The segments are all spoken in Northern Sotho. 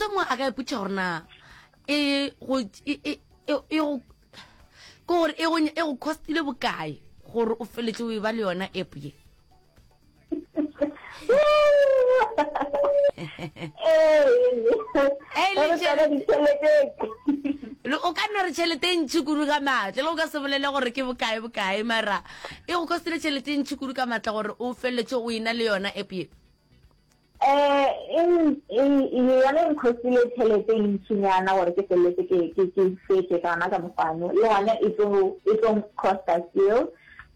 Motho mongwe a ka ipotša gore na e go e e e e go ke gore e go e go costile bokae gore o feletse o e ba le yona app ye. O ka nna re tšhelete e ntšhi kudu ka maatla le o ka se bolele gore ke bokae bokae mara e go costile tšhelete e ntšhi kudu ka maatla gore o feleletse o ena le yona app ye. Um yona e nkhostile tšhelete e ntšhinyana gore ke feleletse ke ke ke fetše ka yona ka mokgwano le gona e tlo e tlo costa still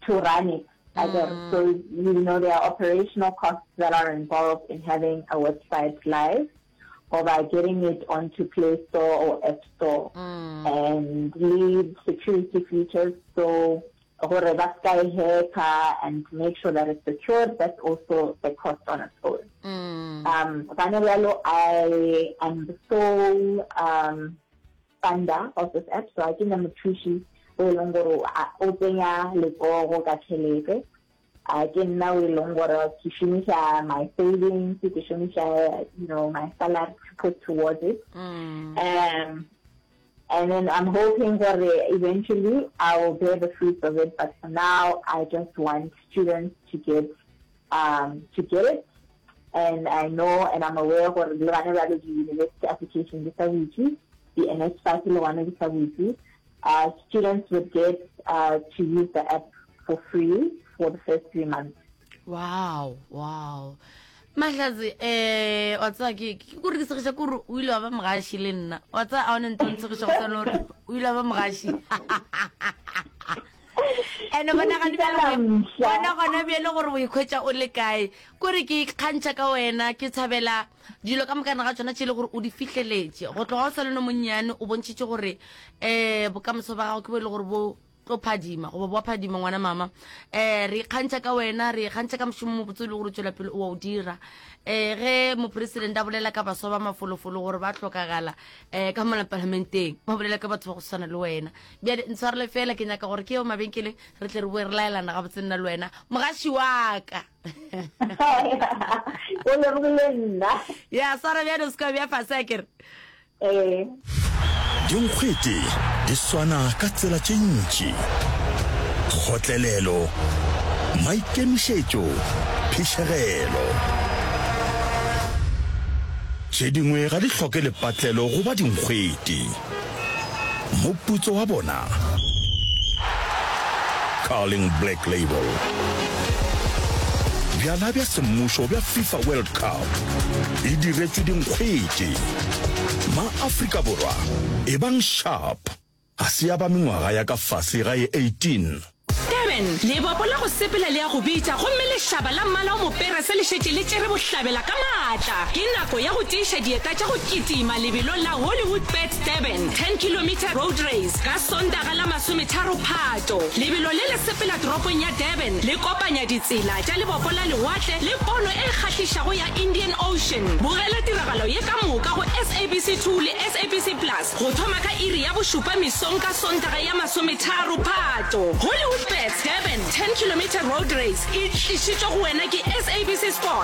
to run it akere mm. so you know there are operational costs that are involved in having a website live or by getting it onto Play Store or App Store mm. and lead security features so gore ba ska e hacker and make sure that it's secured that's also the cost on its own mm. um gane bjalo i am the sole um funder of this app so a ke na mothuši o e leng gore o tsenya letsogo ka tšhelete a ke nna o e leng gore ke šomiša my savings ke šomiša you know my salary to put towards it mm. um And then I'm hoping gore eventually I will bear the fruits of it, but for now I just want students to get um, to get it. And I know and I'm aware gore le gane bjalo di-university application di sa butše, di-NSFAS le gona di sa butše. Uh, students would get uh, to use the app for free for the first three months. Wow, wow. Mahlatse, eh, wa tseba ke ke kore ke segiša kore o ile wa ba mogaši le nna. Wa tseba a one ntho ntshegiša go swana gore o ile wa ba mogaši. Ene bona gane bjale bona gona bjale gore o ikhwetša o le kae. Kore ke ikgantšha ka wena, ke tshabela dilo ka mokana ga tšona tše le gore o di fihleletše. Go tloga o sa le no monnyane o bontšhitše gore eh bokamoso ba gago ke bo e le gore bo tlo phadima goba boa phadima ngwana mama um re ikgantšha ka wena re ikgantšha ka mošomo mobotse o le gore o tswela pele o wa o dira um ge mopresidente a bolela ka baswa ba mafolofolo gore ba hlokagala um ka mola palamenteng ba bolela ka batho ba go swana le wena bjale ntshwarele fela ke nyaka gore ke yo mabenkeleng re tle re boe re laelana gabotse nna le wena mogaši wa ka o lebogile nna ya swara bjale o se ka bja fase a kere Ee. Dinkgwete di swana ka tsela tše ntši, kgotlelelo, maikemišetšo, phišegelo. Tše dingwe ga di hloke lepatlelo go ba dinkgwete. Moputso wa bona? Carling Black Label. Bjala bja semmušo bja FIFA World Cup e diretšwe dinkgwete. Ma-Afrika Borwa, ebang sharp! Ga se ya ba mengwaga ya ka fase ga ye 18. Durban, Lebopo la go sepela le a go bitša gomme lešaba la mmala o moperese le šetše le tšere bohlabela ka maatla. Ke nako ya go tiiša dieta tša go kitima lebelong la Hollywoodbets Durban 10 Kilometre Road Race ka Sontaga la masometharo Phato. Lebelo le le sepela toropong ya Durban le kopanya ditsela tša lebopo la lewatle le pono e kgahlišago ya Indian Ocean. Bogela tiragalo ye ka moka go SABC 2 le SABC Plus. Go thoma ka iri ya bošupa mesong ka Sontaga ya masometharo Phato, Hollywoodbets Durban 10 Kilometre Road Race e tlišitšwe go wena ke SABC Sport.